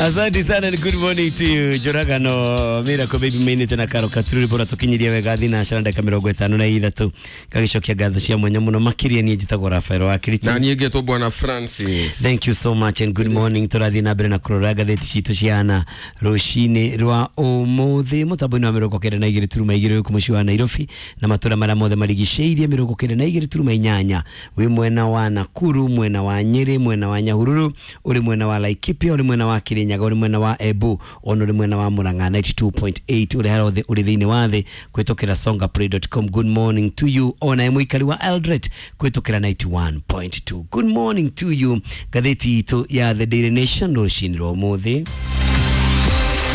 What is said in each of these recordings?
Asante sana and good morning to you. Njũragano Miracle Baby mainĩte na Karo Katururi bora tũkinyirie wega thinacara ndagĩka 53 ngagĩcokia ngatho cia mwanya mũno makĩria. Niĩ njĩtagwo Rafael wa Kiriti. Na niĩ ngetwo Bwana Francis. Thank you so much and good morning. Tũrathiĩ na mbere na kũrora ngathĩti citũ ciana rũcinĩ rwa ũmũthĩ mũtambo-inĩ wa 92.2 gũkũ mũciĩ wa Nairobi na matũra marĩa mothe marigicĩirie, 92.8 wĩ mwena wa Nakuru, mwena wa Nyĩrĩ, mwena wa Nyahururu, ũrĩ mwena wa Laikipia, ũrĩ mwena wa Kirinyaga, ũrĩ mwena wa Embu, ona ũrĩ mwena wa Murang'a 92.8, ũrĩ harĩa hothe ũrĩ thĩinĩ wa thĩ kũhĩtũkĩra songaplay.com. Good morning to you. Ona mũikari wa Eldoret kũhĩtũkĩra 91.2, good morning to you. Ngathĩti itũ ya The Daily Nation rũcinĩ rwa ũmũthĩ.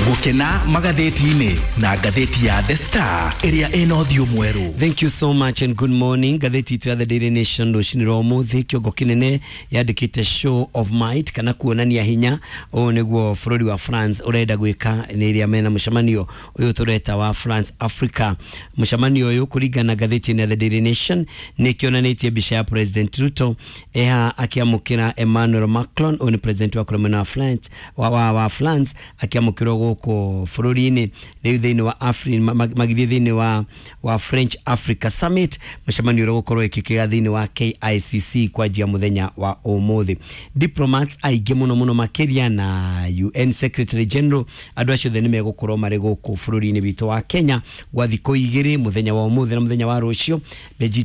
Gũkena magathĩti-inĩ na ngathĩti ya The Star ĩrĩa ĩna ũthiũ mwerũ. Thank you so much and good morning. Ngathĩti itũ ya The Daily Nation rũcinĩ rwa ũmũthĩ kĩongo kĩnene yandĩkĩte "Show of might" kana kuonania hinya. Ũũ nĩguo bũrũri wa France ũrenda gwĩka nĩ ĩrĩa mena mũcemanio ũyũ tũreta wa France Africa. Mũcemanio ũyũ, kũringana na ngathĩti ĩno ya The Daily Nation, nĩ kĩonanĩtie mbica ya President Ruto eha akĩamũkĩra Emmanuel Macron. Ũyũ nĩ president wa kũrĩa mwena wa France, wa France, akĩamũkĩrwo gũkũ bũrũri-inĩ rĩu thĩinĩ wa magĩthiĩ thĩinĩ wa French Africa Summit, mũcemanio ũrĩa ũgũkorwo ĩkĩkĩra thĩinĩ wa KICC kwanjia mũthenya wa ũmũthĩ. Diplomats aingĩ mũno mũno makĩria na UN Secretary General, andũ acio othe nĩ megũkorwo marĩ gũkũ bũrũri-inĩ witũ wa Kenya gwa thikũ igĩrĩ, mũthenya wa ũmũthĩ na mũthenya wa rũciũ.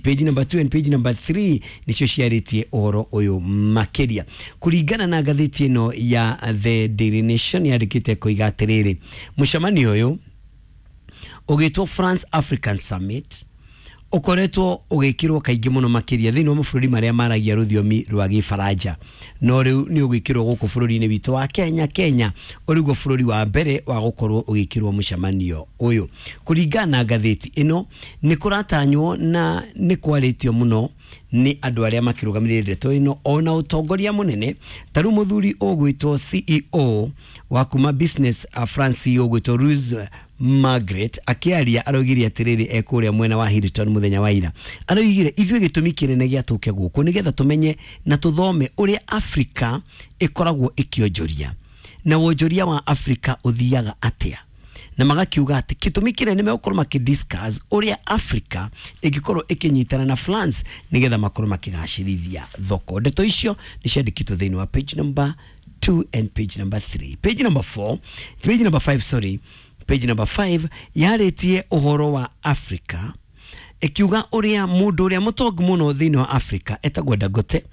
Page number 2 and page number 3 nĩcio ciarĩtie ũhoro ũyũ makĩria. Kũringana na ngathĩti ĩno ya The Daily Nation, yandĩkĩte koiga atĩrĩrĩ, mũcemanio ũyũ ũgĩtwo France African Summit ũkoretwo ũgĩkĩrwo kaingĩ mũno makĩria thĩinĩ wa mabũrũri marĩa maragia rũthiomi rwa Gĩbaranja, no rĩu nĩ ũgwĩkĩrwo gũkũ bũrũri-inĩ witũ wa Kenya. Kenya ũrĩguo bũrũri wa mbere wa gũkorwo ũgĩkĩrwo mũcemanio ũyũ. Kũringana na ngathĩti ĩno, nĩ kũratanywo na nĩ kwarĩtio mũno nĩ andũ arĩa makĩrũgamĩrĩire ndeto ĩno, ona ũtongoria mũnene ta rĩu mũthuri ũgwĩtwo CEO wa kuma Business France, CEO ũgwĩtwo Louis Margaret, akĩaria araugire atĩrĩrĩ, ekũrĩa mwena wa Hilton mũthenya wa ira, araugire ithuĩ gĩtũmi kĩnene gĩa tũke gũkũ nĩgetha tũmenye na tũthome ũrĩa Afrika ĩkoragwo ĩkĩonjoria na wonjoria wa Afrika ũthiaga atĩa, na magakiuga atĩ gĩtũmi kĩnene megũkorwo makĩdiscuss ũrĩa Africa ĩngĩkorwo ĩkĩnyitana na France nĩgetha makorwo makĩgacĩrithia thoko. Ndeto icio nĩ ciandĩkĩtwo thĩinĩ wa page number 2 and page number 3. Page number 4, page number 5, sorry, page number 5 yarĩtie ũhoro wa Africa, ĩkiuga ũrĩa mũndũ ũrĩa mũtongu mũno thĩinĩ wa Africa etagwo Dangote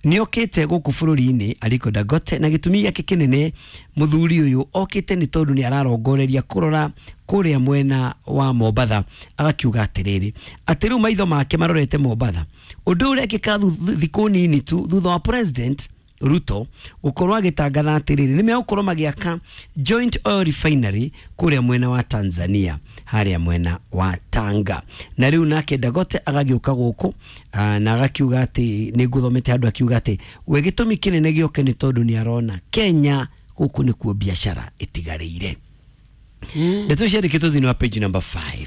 nĩokĩte gũkũ bũrũri-inĩ, Aliko Dangote, na gĩtũmi gĩake kĩnene mũthuri ũyũ okĩte nĩ tondũ nĩ ararongoreria kũrora kũrĩa mwena wa Mombatha. Agakiuga atĩrĩrĩ, atĩ rĩu maitho make marorete Mombatha, ũndũ ũrĩa ũrekĩka thikũ nini tu thutha wa President Ruto gũkorwo agĩtangatha atĩrĩrĩ nĩ megũkorwo magĩaka joint oil refinery kũrĩa mwena wa Tanzania, harĩa mwena wa Tanga. Na rĩu nake Dangote agagĩũka gũkũ na agakiuga atĩ nĩ ngũthomete handũ akiuga atĩ we gĩtũmi kĩnene gĩoke nĩ tondũ nĩ arona Kenya gũkũ nĩkuo biacara ĩtigarĩire. Ndeto ciandĩkĩtwo thĩinĩ wa page number 5.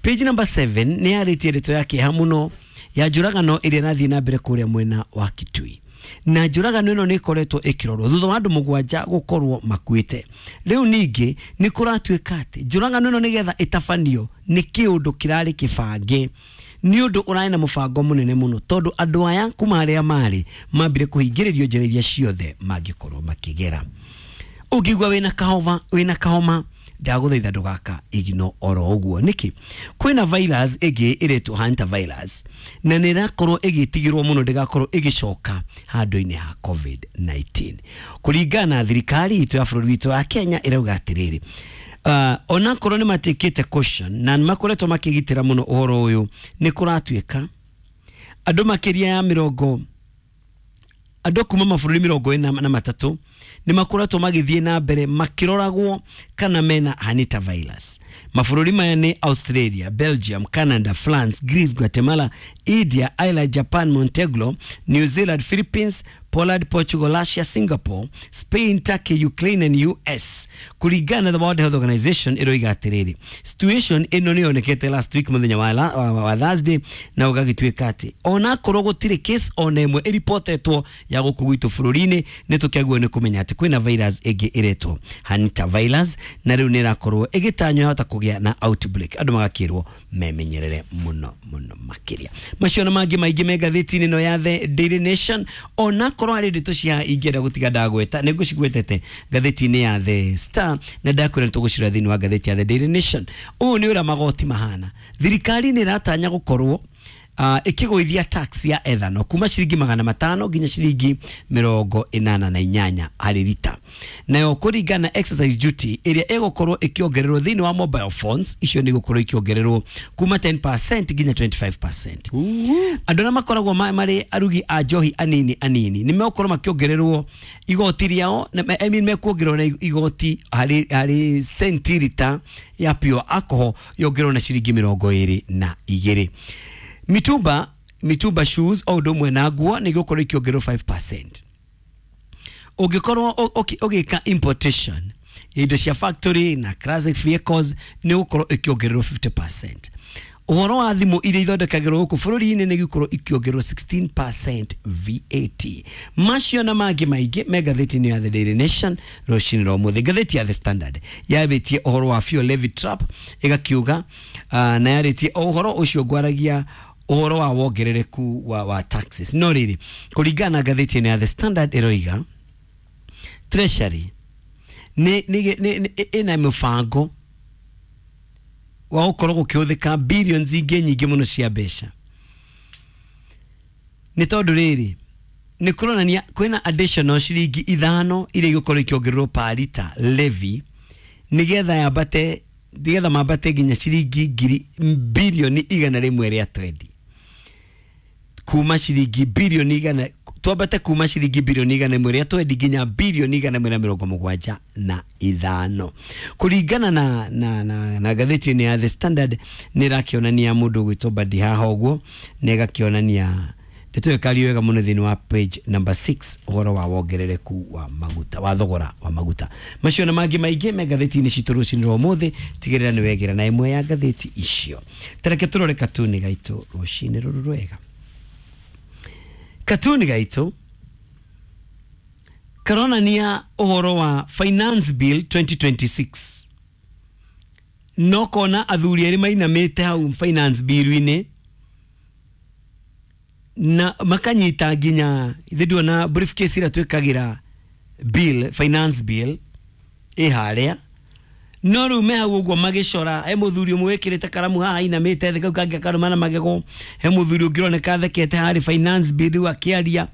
Page number 7 nĩ yarĩtie ndeto ya kĩeha mũno ya njũragano ĩrĩa ĩrathiĩ na mbere kũrĩa mwena wa Kitui, na njũragano ĩno nĩ ĩkoretwo ĩkĩrorwo thutha wa andũ 7 gũkorwo makuĩte. Rĩu ningĩ nĩ kũratuĩka atĩ njũragano ĩno nĩgetha ĩtabanio nĩ kĩũndũ kĩrarĩ kĩbange, nĩ ũndũ ũrarĩ na mũbango mũnene mũno, tondũ andũ aya kuma harĩa marĩ mambire kũhingĩrĩrio njĩra iria ciothe mangĩkorwo makĩgera. Ũngĩigua wĩna kahoma, wĩna kahoma, ndagũthaitha ndũgaka igino oro ũguo. Nĩkĩ? Kwĩna virus ĩngĩ ĩretwo hantavirus na nĩ ĩrakorwo ĩgĩtigĩrwo mũno ndĩgakorwo ĩgĩcoka handũ-inĩ ha COVID-19. Kũringana na thirikari itũ ya bũrũri witũ wa Kenya, ĩrauga atĩrĩrĩ, onakorwo nĩ matikĩte caution na nĩ makoretwo makĩgitĩra mũno ũhoro ũyũ, nĩ kũratuĩka andũ makĩria ya mĩrongo, andũ kuma mabũrũri 43 nĩ makoretwo magĩthiĩ na mbere makĩroragwo kana mena hantavirus. Mabũrũri maya nĩ Australia, Belgium, Canada, France, Greece, Guatemala, India, Ireland, Japan, Montenegro, New Zealand, Philippines. Poland, Portugal, Russia, Singapore, Spain, Turkey, Ukraine and US. Kũringana na the World Health Organization ĩroiga atĩrĩrĩ, situation ĩno nĩ yonekete last week mũthenya wa Thursday, na ũgagĩtuĩka atĩ onakorwo gũtirĩ case ona ĩmwe ĩripotetwo ya gũkũ gwitũ bũrũri-inĩ, nĩ tũkĩagĩrĩirwo nĩ kũmenya atĩ kwĩna virus ĩngĩ ĩretwo hantavirus, na rĩu nĩ ĩrakorwo ĩgĩtanywo yahota kũgĩa na outbreak. Andũ magakĩrwo memenyerere mũno mũno makĩria. Macio na mangĩ maingĩ me ngathĩti-inĩ ĩno ya The Daily Nation. Onakorwo harĩ ndeto cia ingĩenda gũtiga ndagweta, nĩ ngũcigwetete ngathĩti-inĩ ya The Star, na ndakwĩra nĩ tũgũcirora thĩinĩ wa ngathĩti ya The Daily Nation. Ũũ nĩ ũrĩa magoti mahana. Thirikari nĩ ĩratanya gũkorwo ĩkĩgũithia tax ya ethanol kuma ciringi 500 nginya ciringi 88 harĩ rita. Nayo kũringana na excise duty ĩrĩa ĩgũkorwo ĩkĩongererwo thĩinĩ wa mobile phones, icio nĩ igũkorwo ikĩongererwo kuma 10% nginya 25%. Andũ arĩa makoragwo marĩ arugi a njohi anini anini nĩ megũkorwo makĩongererwo igoti rĩao, I mean mekuongererwo na igoti harĩ centilita ya pure alcohol yongererwo na ciringi 22. Mitumba shoes o ũndũ ũmwe na nguo nĩ igũkorwo ikĩongererwo 5%. Ũngĩkorwo ũgĩka importation ya indo cia factory na classic vehicles nĩ gũkorwo ĩkĩongererwo 50%. Ũhoro wa thimũ iria ithondekagĩrwo gũkũ bũrũri-inĩ nĩ igũkorwo ikĩongererwo 16% VAT. Macio na mangĩ maingĩ me ngathĩti-inĩ ya The Daily Nation rũcinĩ rwa ũmũthĩ. Ngathĩti ya The Standard yambĩtie ũhoro wa fuel levy trap ĩgakiuga, na yarĩtie ũhoro ũcio ngwaragia ũhoro wa wongerereku wa taxes. No rĩrĩ, kũringana na ngathĩti ĩno ya The Standard ĩroiga Treasury nĩ ĩna mũbango wa gũkorwo gũkĩhũthĩka billions ingĩ nyingĩ mũno cia mbeca. Nĩ tondũ rĩrĩ, nĩ kũronania kwĩna additional ciringi 5 iria igũkorwo ikĩongererwo per liter levy nĩgetha yambate, nĩgetha mambate nginya ciringi ngiri bilioni 120, kuma ciringi bilioni 100, twambate kuma ciringi bilioni 120 nginya bilioni 175. Kũringana na ngathĩti ĩno ya The Standard nĩ ĩrakĩonania mũndũ ũgwĩtwo Badi haha ũguo, na ĩgakĩonania ndeto ĩyo ĩkario wega mũno thĩinĩ wa page number 6 ũhoro wa wongerereku wa maguta, wa thogora wa maguta. Macio na mangĩ maingĩ me ngathĩti-inĩ citũ rũcinĩ rwa ũmũthĩ. Tigĩrĩra nĩ wegĩra na ĩmwe ya ngathĩti icio. Tareke tũrore katuni gaitũ rũcinĩ rũrũ rwega. Katuni gaitũ karonania ũhoro wa Finance Bill 2026. No kona athuri erĩ mainamĩte hau Finance Bill-inĩ na makanyita nginya ithe nduona briefcase ĩrĩa twĩkagĩra bill, finance bill ĩ harĩa. No rĩu me hau ũguo magĩcora, he mũthuri ũmwe wĩkĩrĩte karamu haha ainamĩte thĩ, kau kangĩ akarũma na magego, he mũthuri ũngĩ ũroneka athekete harĩ finance bill rĩu akĩaria.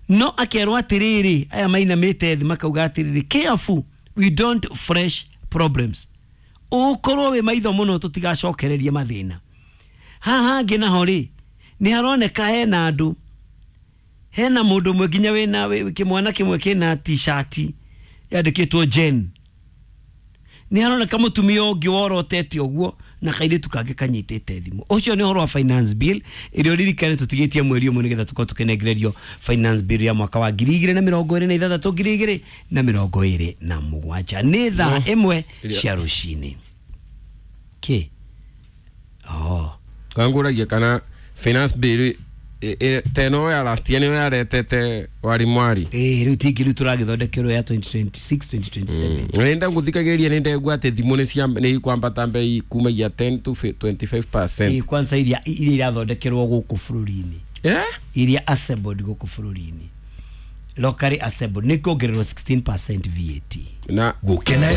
No akerwo atĩrĩrĩ, aya mainamĩte thĩ makauga atĩrĩrĩ, careful we don't fresh problems. Ũkorwo wĩ maitho mũno tũtigacokererie mathĩna. Haha hangĩ naho rĩ, nĩ haroneka hena andũ, hena mũndũ ũmwe nginya wĩna kĩmwana kĩmwe kĩna t-shirt yandĩkĩtwo Jen. Nĩ haroneka mũtumia ũngĩ worotete ũguo na kairĩtu kangĩ kanyitĩte thimũ. Ũcio nĩ ũhoro wa finance bill ĩrĩa ũririkane tũtigĩtie mweri ũmwe nĩgetha tũkorwo tũkĩnengererio finance bill ya mwaka wa 2026 2027. Nĩ thaa 1 cia rũcinĩ. Kĩ? Oh. Kangũragia kana finance bill teno ya last year nĩyo yaretete wari mwari. Rĩu tingi rĩu tũragĩthondekerwo ya 2026 2027. Nĩ ndagũthikagĩrĩria nĩ ndegua atĩ thimũ nĩ ikwambata mbei kumagia 10 to 25%. Kwanza iria irathondekerwo gũkũ bũrũri-inĩ. Iria assembled gũkũ bũrũri-inĩ. Locally assembled nĩ kuongererwo 16% VAT. Na Gũkena